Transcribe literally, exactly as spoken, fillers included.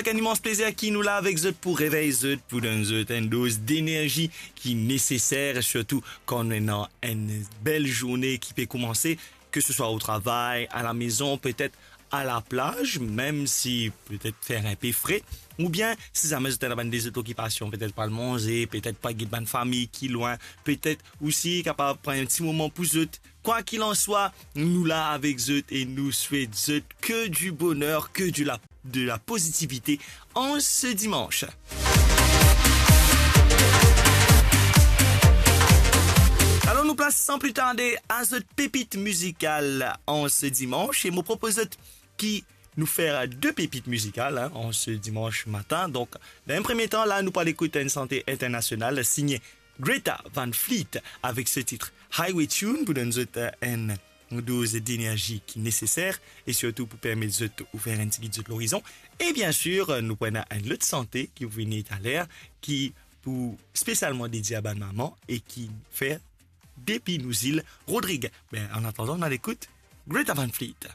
Avek enn imans plezir ki nou la avek zot pou revey zot, pou donn zot enn doz denerzi ki neseser, sirtou kan nou ena enn bel zourne ki pe koumanse, ke se swa o travay, a la mezon, petet a la plaz, mem si petet fer inpe fre, oubien si zame zot ena bann de zot okipasion, petet pou al manze, petet pou al get bann fami ki lwin, petet osi kapav pran enn ti moman pou zot. Kwa kilanswa, nou la avek zot e nou swet zot ke di boner, ke di la, de la pozitivite an se dimans. Alor nou plas san pli tarde a zot pepit mizikal an se dimans e mo propoz zot ki nou fer de pepit mizikal, hein, an se dimans matin. Donk, dan enn premie tan, la, nou pou al ekout enn sante internasional, signe Greta Van Fleet, avek se tit Highway Tune, pou donn zot, euh, enn doz denerzi ki neseser, e sirtou pou permet zot ouver enn tigit zot lorizon. E biensir, nou pou ena enn lot sante ki pou vini taler, ki pou spesialman dedie a bann mama e ki fer depi nou zil Rodrig. Be, an atandan, nou al ekout Greta Van Fleet.